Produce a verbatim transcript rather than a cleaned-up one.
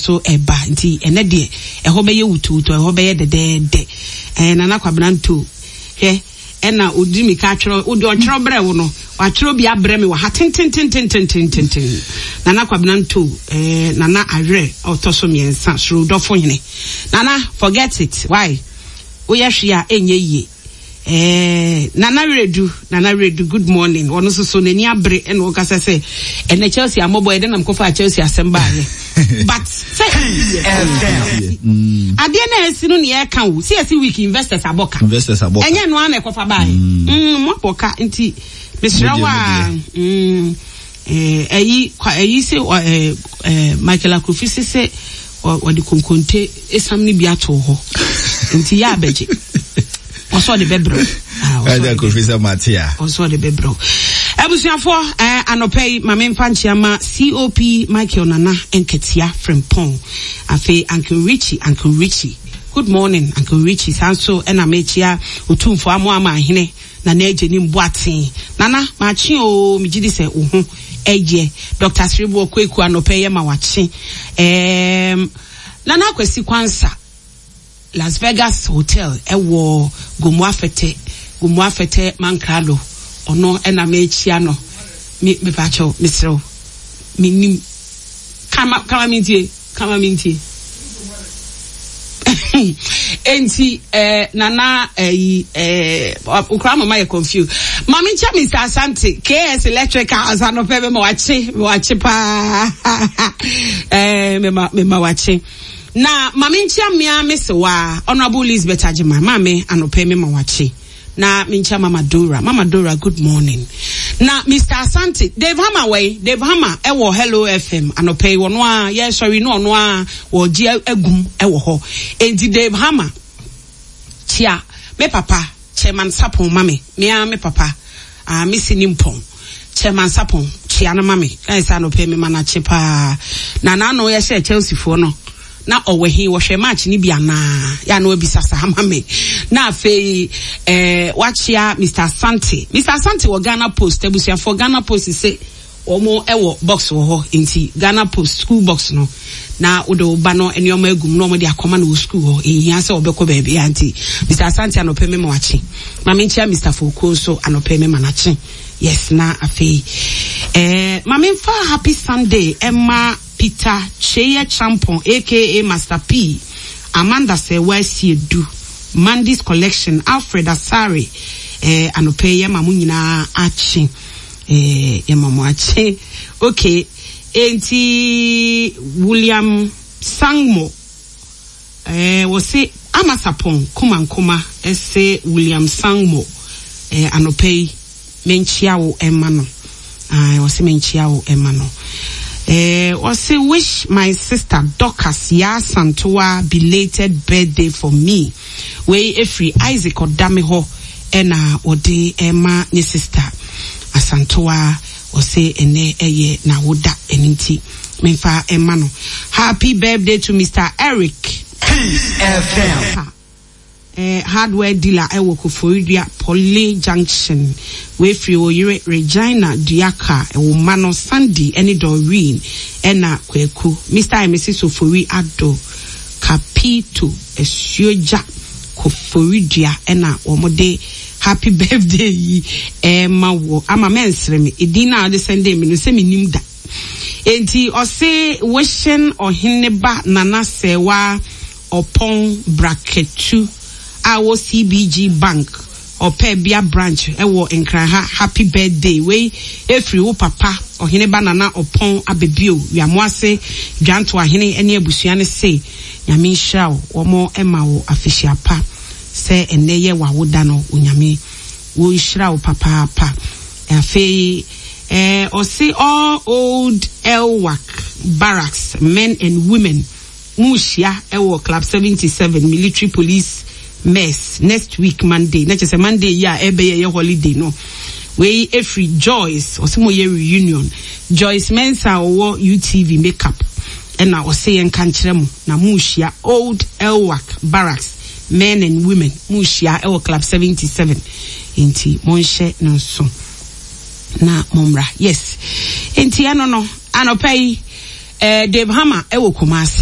nso ɛba. Nti ɛnɛ deɛ ɛhɔ bɛyɛ wutuwutu, ɛhɔ bɛyɛ dɛdɛɛdɛ. Ɛɛ Nana Kwabena Nto, hwɛ, ɛna odi mi ka atwerɛ, odi ɔtwerɛ brɛ wo no, watwerɛ bi abrɛ me wɔ ha tententententententen. Nana Kwabena Nto, ɛɛ Nana Awerɛ ɔtɔ so mmiɛnsa, soro dɔfo hene. Nana, forget it, why? Woyɛ hwee a ɛnyɛ yie. Eh, Nana Wiredu, Nana Wiredu, good morning. Ɔno nso so n'ani abere ɛna ɔkasa sɛ ɛnɛ Chelsea amɔbɔ ɛdɛ nam kɔfa Chelsea asɛm baayɛ. But sɛ adeɛ na ɛsi no nea ɛka o, sɛ ɛsi week investors abɔ ka. Investors abɔ ka. Ɛnyɛ no ara na ɛkɔfa baayɛ. Mm, mo abɔ ka nti mesrɛ wo a. Mm, eh, ɛyi ɛyi sɛ eh, eh, Michael Akrofi sɛ sɛ ɔde konkonte esam no bi ato hɔ nti yɛ abɛgye ɔsɛ ɔde bɛbrɛw. Ɛdɛ Kofi sɛ mate a. Ɔsɛ ɔde bɛbrɛw. Abusuafoɔ, ɛɛ anɔpɛ yi maame nfa nkyia ma C O P Michael Nana Nketia Frimpong, afei Uncle Richie, Uncle Richie, good morning, Uncle Richie. Saa nso ɛna mekyia Otumfoɔ Amoama Ahene Nana Agye ne Mboaten. Nana maakye o, megye di sɛ wo ho ɛyɛ. Doctor Sereboɔ Kweku, anɔpɛ yɛ ma wakye. ɛɛm Nana Akwasi Kwansa, Las Vegas Hotel ɛwɔ Gomu Afɛtɛ, Gomu Afɛtɛ Mankrado, ɔno ɛna mekyia no. Me mepakyɛw, mesrɛw, menim kama kama mintie, kama mintie. Enti eh, Nana ɛyi eh, okura mama yɛ confuse. Maame nkyɛn Mister Asante K S Electrical anɔpɛ mema wakye, mema wakye paa, eh, mema mema wakye. Na maame nkyɛn mmea mesewa Honourable Elizabeth Agyeman, maame, anɔpɛ mema wakye. Na menkyia Mama Dora, Mama Dora, good morning. Na Mister Asante, Dave Hammer wei, Dave Hammer ɛwɔ Hello F M anɔpɛ yi, wɔno a yɛsɔre no, ɔno a wɔgye agum ɛwɔ hɔ. Enti Dave Hammer, kyia me papa Chairman Sapon ma me, mea me papa ah, me si ne mpɔn Chairman Sapon, kyia no ma me. Ɛyɛ sɛ anɔpɛ me ma n'akye paa. Na n'ano yɛhyɛ Chelsea foɔ no na ɔwɔ he, wɔhwɛ match ni bi anaa yɛ ano abisa saa ma me. Na afei ɛɛ wakyia Mister Asante, Mister Asante wɔ Ghana Post. Abusuafoɔ, Ghana Post sɛ wɔn ɛwɔ box wɔ hɔ, nti Ghana Post school box no na wode wo ba no nneɛma agum na wɔn de akɔma no wɔ school hɔ, ehia sɛ ɔbɛkɔ baabi a. Nti Mister Asante, anɔpɛ mema wakye. Maame nkyia Mister Fokuo nso, anɔpɛ mema n'akye, yes. Na afei ɛɛ maame nfa happy Sunday ɛma Peter Cheye Champon A K A Master P, Amanda Sɛwa Siedu, Mandy's Collection, Alfred Asare, ɛɛ anɔpɛ yɛ ma mo nyinaa akye, ɛɛ yɛ ma mo akye. Okay, enti William Sangmo, ɛɛ wɔsi Amasapɔn Kumankuma, ɛsɛ William Sangmo, ɛɛ anɔpɛ yi menkyia wo ɛma no, ɛɛ wɔsi menkyia wo ɛma no. ɛɛ wɔsi wish my sister Dorcas Yaa Santoa belated birthday for me. Wei efiri Isaac ɔdame hɔ ɛna wɔde ɛma ne sister Asantoa. Wɔsi ɛnɛ ɛyɛ n'awoda, ɛne nti memfa ɛma no happy birthday to Mister Eric Peace F M. eh, hardware dealer ɛwɔ Koforidua Poly Junction. Wefiri oyere Regina Duaka, ɛwɔ mma no Sandy ɛne Doreen ɛna Kwaku. Mister and Missus Ofori Ado Capito Asuogya Koforidua ɛna wɔn de happy birthday yi ɛɛma wɔ ama mɛnsere me edin na ɔde send mi no sɛ mi nim da. Enti ɔse wishing Ɔheneba Nana Sɛwa Ɔpɔn Braketu a wɔ C B G Bank ɔpɛ bia branch ɛwɔ Nkranha happy birthday. Wei efiri wo papa Ɔheneba Nana Ɔpɔn Abebio Wiamoase Dwanto Ahene ɛne abusua ne se Nyame nhyira wo, wɔn ɛma wo afehyia pa sɛ ɛnɛ yɛ wawoda no. Onyame wɔnhyira wo papaapa. Afei ɛɛ ɔse all old Elwak Barracks men and women, mu hyia ɛwɔ Club seventy seven, Military Police Mess, next week Monday, na kyerɛ sɛ Monday yi a ɛbɛyɛ yɛ holiday no. Wei efiri Joyce, ɔsɛ mo yɛ reunion. Joyce Mensa a ɔwɔ U T V makeup ɛna ɔsɛ yɛn ka nkyerɛ mo na mu hyia old Elwak Barracks men and women, mu hyia ɛwɔ Club seventy seven, nti monhyɛ no nso na mommra. Yes, nti ɛno no anɔpa yi, eh, Dave Hammer ɛwɔ Kumase.